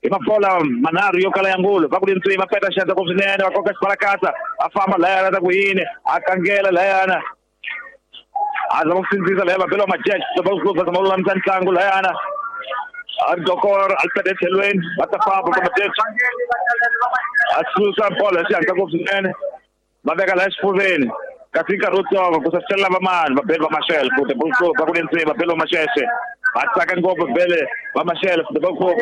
Hi mabola manharhu yo kala ya ngulu va ku lintswi va peta xandla ku swinene va koka xibalakatsa a famba layana ta ku yini a kangela layana a zama ku sindzisa laya vabelo va Majaji va zama ku lulamisa ntlangu layana a dokor a peta etlhelweni va ta famba va Majaji a susa bolo hi xihatla ku swinene va veka laya xifuveni kasi nkarhi wutsongo ku saselela vamani vabeli va Mashele Football Club va ku lintswi vabeli va Masheshe va tsaka ngopfu vele va Mashele Football Club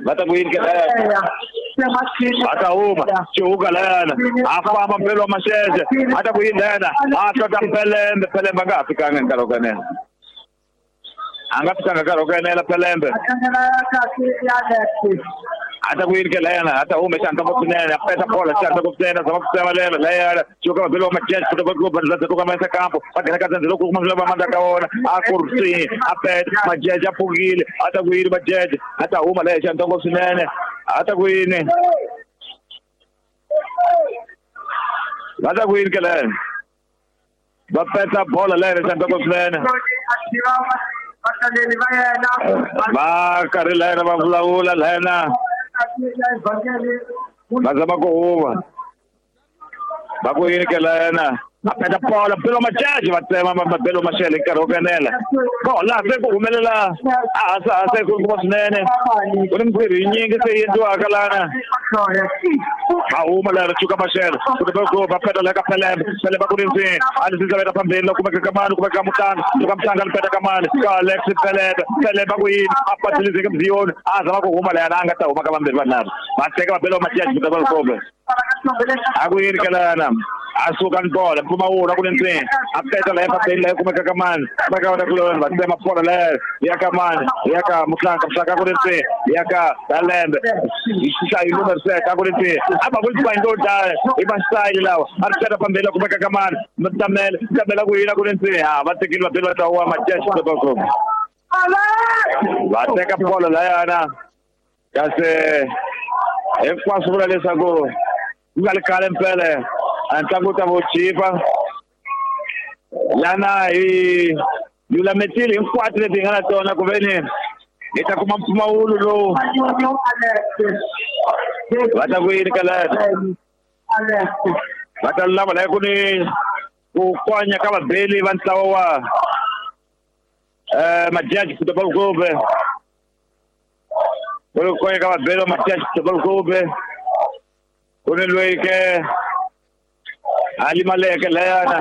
va ta ku yini ke layana a ta huma xihuka layana a famba mbeli wa Masheshe a ta ku yini layana a hlota Pelembe Pelembe a nga ha fikanga hi nkarhi wo kanela a nga fikanga nkarhi wo kanela Pelembe a ta ku yini ke layana a ta huma xihatla ngopfu swinene a peta bola xihatla ngopfu swinene a zama ku tsemelela layana xihuka vabeli va Majaji Football Club va za ku kambanyisa kampo va nghena ka dzandzi loko kuma va mandla ka wona a ku ri a peta Majaji a pfukile a ta ku yini Majaji a ta huma laya xihatla ngopfu swinene a ta ku yini va ta ku yini ke layana va peta bola laya xihatla ngopfu swinene va karhi layana va vulavula layana va zama ku huma va ku yini ke layana a peta bola belo Majaji va tsema mabelo Mashele nkarhi wo kanela ko laha se ku humelela a hasa hasa ku kuma swinene ku ni mintirho yinyingi se yi endliwaka lana va huma lera chuka Mashele ku va peta la ka Pelembe Pelembe ku rindzini a ni sinza veka phambili loko kumeka kamani kumeka mutanga suka mutanga ni peta kamani ka Alex Pelembe Pelembe ku yini a patilizeke mziyoni a zama ku huma layana a nga ta huma ka vambirhi vanharhu va teka vabelo Majaji Football Club a ku yini ke layana a suka ni bola mpfumawulo a ku lindzini a peta laya phambili laya kumeka kamani kumeka wona kuloni va tsema bola laya ya ka mani ya ka Muhlanga Muhlanga a ku lindzini ya ka Dalembe xi numero 7 a ku lindzini a va ku ndo dlaya i masayili lawa a ri peta phambili kumeka kamani Tamele Tamele ku yini a ku lindzini ha va tekile vabeli va ta wa Majaji Football Club va teka bola layana kasi hinkwaswo vula leswaku ku nga ri khale mpele a ntlangu wu ta va wu chipa lana hi lulametile hinkwato leti hi nga na tona ku ve ni hi ta kuma mpfumawulo lowu va ta ku yini ka lana va ta lulama laya ku ni ku konya ka vabeli va ntlawa wa Majaji Football Club ku ni ku konya ka vabeli va Majaji Football Club ku ni loyi ke a limaleke layana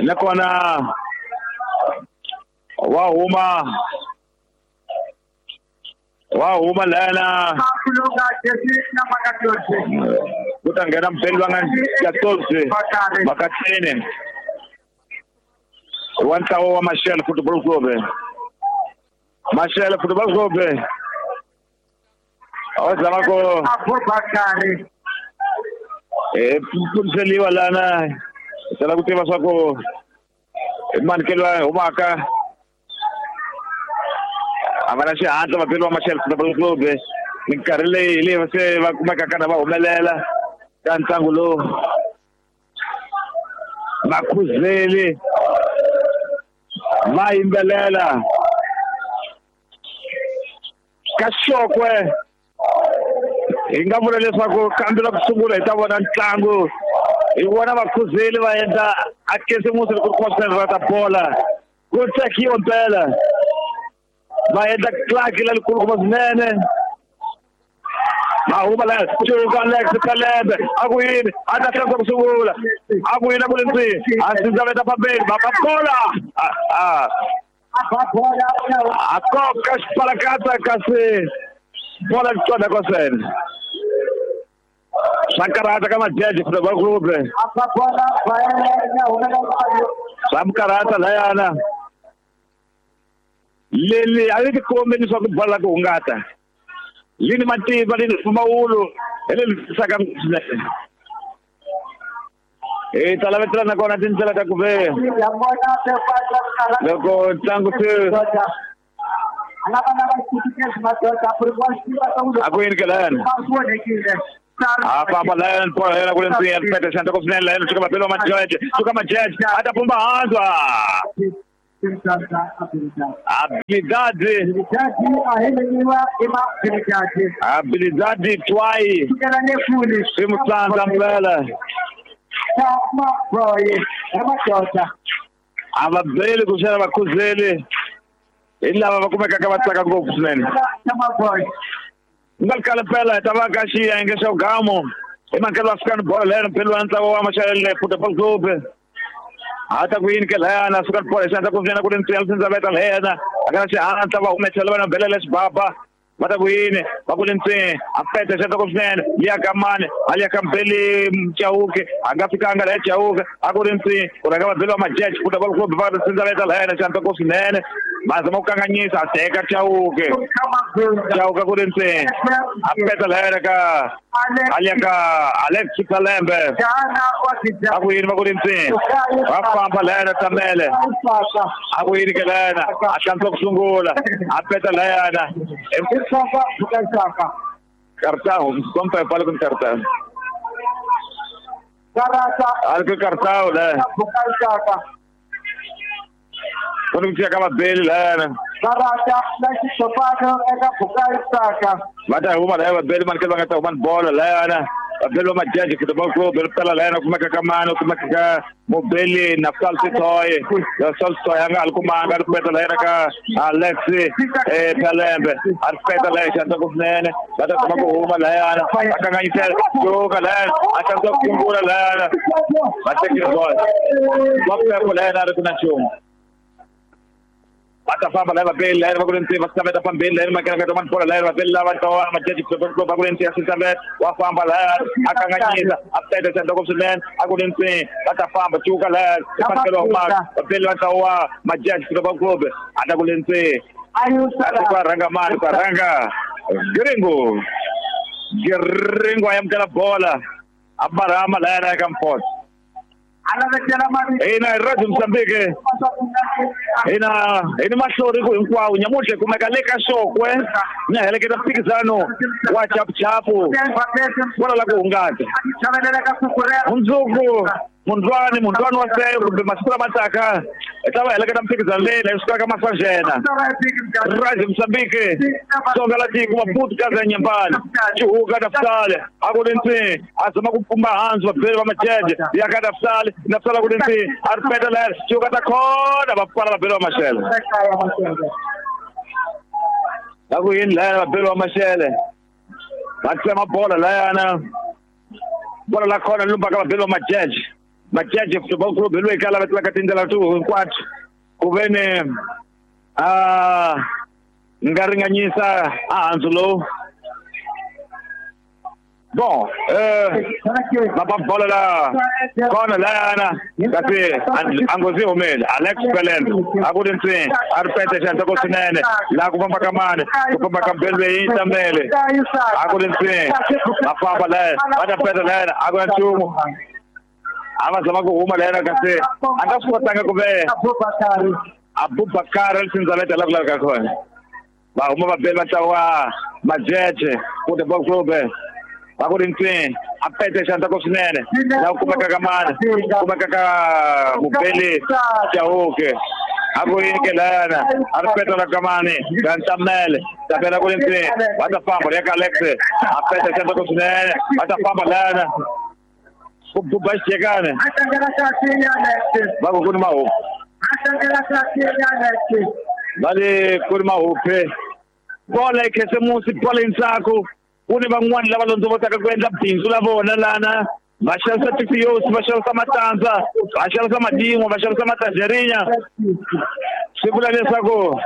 nakona wa huma layana ku ta nghena mubeli va nga 14 Makatini wa ntlawa wa Mashele Football Club Mashele Football Club a zama ku pfuniseliwa lana sala ku tiva swa ku i mani ke loyi humaka a va na xihatla vabeli va Mashele Football Club minkarhi leyi leyi se va kumekaka na va humelela ka ntlangu lowu vakhuzeli va yimbelela ka Xokwe hi nga vula leswaku kambe la ku sungula hi ta vona ntlangu hi vona vakhuzeli va endla a kesimusi loko ku ri ta bola ku tsakiwa mpela va endla klaki lelikulu kuma swinene va huma la cuka Alex Pelembe a ku yini a ta hlantswa ku sungula a ku yini a ku lindzini a sindzaveta phambili va bola a koka xipalakatsa kasi bola tsonda kwasene swa karhata ka Majaji Football Club swa karhata layana leli a ri tikombi leswaku bola ku hungata lini matimba lini mpfumawulo hi leri tisaka swinene hi ta lavetela nakona tindlela ta ku ve loko ntlangu se a ku yini ke layana a famba layana bola yena ku le ndzeni peta xandla ku swinene layana suka mabelo Majaji suka Majaji a ta pumba hansi Habilidade. Habilidade twai. Swi mpela. A va beli ku xana vakhuzeli hi lava va kumekaka va tsaka ngopfu swinene. Nga kala mpela hi ta va ka xiyenge xa vugamu hi mankelo wa African bolo leyana mpelo wa ntlawa wa Maxele Football Club. Hata ku yini ke layana African bolo xandla ku vyena ku ri ntsena sindzaveta leyana a kana xihatla va humesela vana belela xibaba va ta ku yini va ku ri ntsena a pete xandla ku swinene liya ka mani a liya ka mbeli Chauke a nga fikanga la Chauke a ku ri ntsena ku rhanga va beliwa Majeje Football Club va sindzaveta layana xandla ku swinene va zama ku kanganyisa a teka Chauke Chauke ku ri ntsena a peta layana ka a liya ka Alex Kalembe a ku yini va ku ri ntsena va famba layana Tamele a ku yini ke layana a hlantswa ku sungula a peta layana cartão, compra fala com cartão. Algo com cartão, né? Quando você acaba dele lá, né? Vai dar uma leva dele, mas que vai estar uma bola lá, né? Belo Majeje Football Club, pela lena kuma ka mano kuma ka mobili Naftal Sitoy, Naftal Sitoy anga alkumanga alkumeta lena ka Alexi Pelembe, alpeta lena xanta ku swinene, va ta kuma ku huma layana, va kanganyisela joka lena, a xanta ku sungula lena, va tekile bola. Va pepo lena ri ku na nchumu. Va ta famba lava beli lena va ku ri ntsena va tsaveta fambeni lena makena ka tomani bola lena va beli lava tawa Majeje Football Club va ku ri ntsena sindzaveta wa famba lena a kanganyisa a peta xandla ku swinene a ku ri ntsena va ta famba cuka lena i fanekele wa maka va beli va tawa Majeje Football Club a ta ku ri ntsena a ku rhanga mani ku rhanga Gringo Gringo a amukela bola a barama lena eka Mphoto. Hina hi Radio Mozambique hina hi ni mahlori ku hinkwawo nyamuntlha hi kumeka le ka Xokwe ni heleketa mphikizano wa chapuchapu kwala la ku hungata mundzuku mundlwani mundlwani wa seyo kumbe masiku lama taka hi ta va heleketa mphikizano leyi la yi sukaka Masajena Radio Mozambique Tsonga la tiko Maputo Gaza Nyambani Chihuka Nafsale a ku ri ntsena a zama ku pfumba hansi vabeli va Majeje ya ka Nafsale Nafsale a ku ri ntsena a ri peta leri Chihuka ta khona va pfala vabeli va Maxele va ku yini layana vabeli va Maxele va tsema bola layana bola la khona lumbaka vabeli va Majeje Majeje Football Club hi loyi ka lava tlaka tindlela to hinkwato ku ve ni a nga ringanyisa a handzu lowu bon va bola la khona layana kasi a ngozi humele Alex Pelembe a ku ri ntsena a ri pete xandla ku swinene laha ku famba ka mani ku famba ka mbeli leyi Tamele a ku ri ntsena va famba layana va ta peta layana a ku na nchumu a va zama ku huma layana kasi a nga swi kotanga ku ve Abubakar Sindzaveta la ku laveka kona va huma va beli va ntlawa Majeje Football Club va ku ri ntsena a pete xandla ku swinene laha ku kumeka ka mani kumeka ka mubeli Chauke a ku yini ke layana a ri peta la ka mani ka Ntamele Tamele ku ri ntsena va ta famba ri ya ka Alex a pete xandla ku swinene va ta famba layana ku buba xijekane va ku ku ni mahupu va le ku ri mahupe bola yi khisimusi bola yi ntsako ku ni van'wani lava londzovotaka ku endla bindzu la vona lana va xavisa tifiyosi va xavisa matandza va xavisa madin'wa va xavisa matanjerinya swi vula leswaku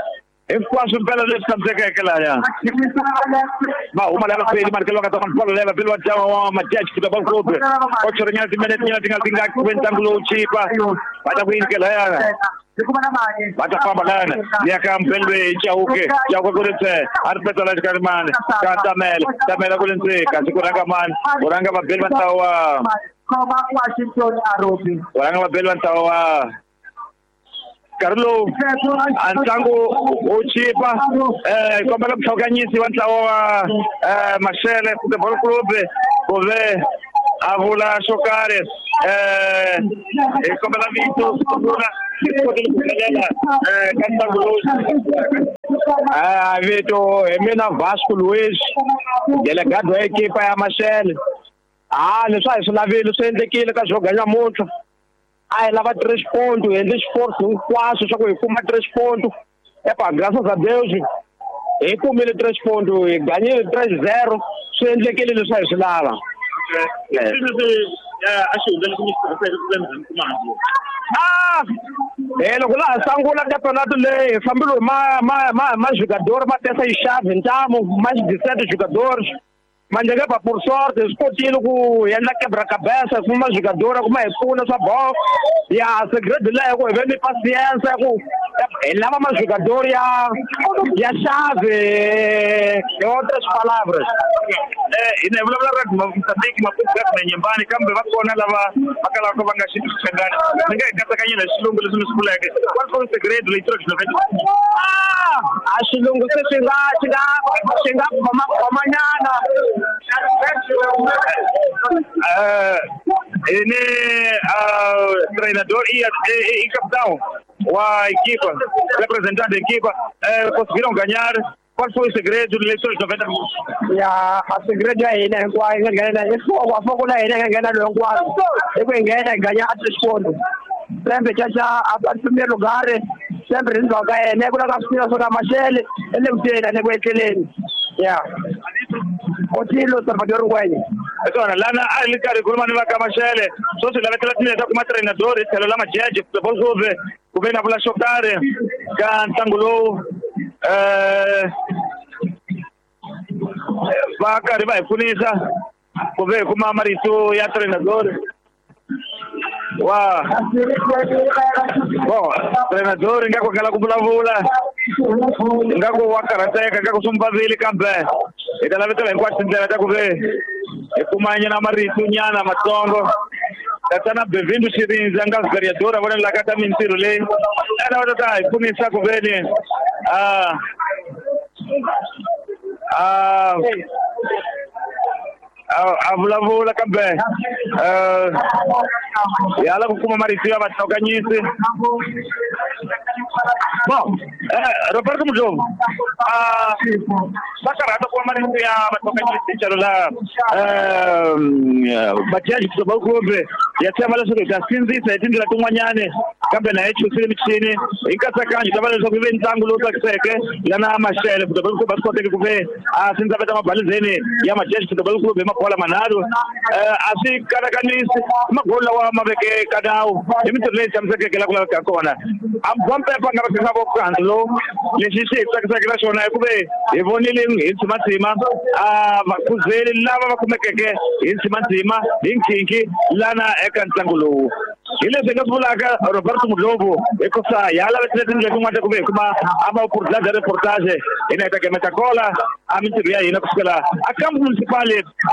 hinkwaswo mpela leswi tshamisekeke laya va huma lava beli mani va nga ta bolo lava beli wa dyawa wa Majeje Football Club o chorinyana timinete nyana ti nga ti nga ku ve ntlangu lowu chipa va ta ku yini ke layana va ta famba layana ya ka mbelwe Chauke Chauke ku ri ntsena a ri peta la xikarhi mani ka Tamele Tamele ku ri ntsena kasi ku rhanga mani ku rhanga vabeli va ntlawa ku rhanga vabeli va ntlawa wa nkarhi lowu a ntlangu wu chipa kombela muhlokanyisi wa ntlawa wa Maxele Football Club ku ve a vula xo karhi hi kombela vito sungula Kotile ku humelela ka ntlangu lowu. Vito hi mina Vasco Luis, delegado wa ekipa ya Mashele. Leswi a hi swi lavile swi endlekile ka Joga nyamuntlha. A hi lava 3 point, hi endle xiforce hinkwaswo swa ku hi kuma 3 point. Epa graças a Deus hi kumile 3 point, hi ganyile 3-0, swi endlekile leswi a hi swi lava. A xi hundza leswi mi swi tirhiseke ku ve mi kuma handle? Loko laha sungula campeonato leyi hi fambile ma jogador ma tesa xixavi ntamu ma 17 jogadores. Manjeke pa por sorte hi swi kotile ku endla quebra-cabeça kuma jogador ku ma hi pfuna swa bolo. Ya segredo leyi ku hi ve ni paciência ku hi lava majogador ya xave, hi outras palavras. Hina hi vulavula ra Mozambique, Maputo na Nyembani, kambe va kona lava va kalaka va nga xi twisisangani. Mi nga hi katsakanyela hi xilungu leswi mi swi vuleke. Qual foi o segredo leitura de 90? A xilungu se swi nga khomanyana. Ni treinador e capitão wa equipa, representante da equipa, conseguiram ganhar. Qual foi o segredo de leitura de 90 minutos? Ya, a segredo ya hina hinkwayo hi nga nghena i foko, a foko la hina hi nga nghena loyi hinkwaswo i ku hi nghena hi ganya a 3 ponto. Sempre caca a primeiro lugar, sempre ndzhaku ka yena ku la ka swipira swo ka Mashele i le ku teni a le ku etleleni. Ya. Otilo Salvador Ngwenya. Swona lana a hi li karhi khuluma ni va ka Mashele. Sweswi lavetela tindlela ta kuma treinador hi tlhelo la Majeje Football Club ku ve na vula xo karhi ka ntlangu lowu. Va karhi va hi pfunisa ku ve hi kuma marito ya treinador wa bon treinador ingaku kala ku vulavula, ingaku wa karhateka, ingaku swi n'wi vavile, kambe hi ta lavetela hinkwato tindlela ta ku ve hi kuma nyana marito nyana matsongo. Tatana Bevindu Xirindza nga vereador a vonelaka ta mintirho leyi ena va ta hi pfunisa ku veni a vulavula, kambe hi ala ku kuma marito ya vahlokanyisi. Bon, Roberto Mudlovu, va karhata kuma marito ya vahlokanyisi tlhelo la Majaji Football Club. Ya tshemba leswaku hi ta sindzisa hi tindlela tin'wanyani, kambe na hi chusile michini hi nkatsakanyo ta va leswaku yi ve ntlangu lowu tsakiseke lana Mashele Football Club a swi koteki ku ve a sindzaveta mabalizeni ya Majaji Football Club hi mabola manharhu. A swi kanakanisi magoli lawa ma veke ka nawu hi mintirho leyi tshamisekeke la ku laveka kona. Ambompepha nga va vo khansi lowu lexi xi hi tsakisaka na xona i ku ve hi vonile hi ntsimantsima a vakhuzeli lava va kumekeke hi ntsimantsima hi nkhinkhi lana eka ntlangu lowu. Hi leswi hi nga swi vulaka Roberto Mudlovu, hikusa hi ha lavetile tindlela tin'wana ta ku ve hi kuma a va oportunidade ya reportage. Hina hi ta gemeta kola a mintirho ya hina kusukela a kampo municipal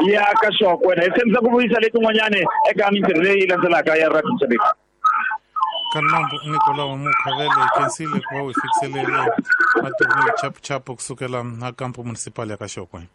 ya ka Xokwe, hi tshembisa ku vuyisa letin'wanyani eka mintirho leyi landzelaka ya Radio Mozambique. Kanambu Nicolau Mukhavele, hi khensile ku va u hi fikiselele matimu hi chapuchapu kusukela a kampo municipal ya ka Xokwe.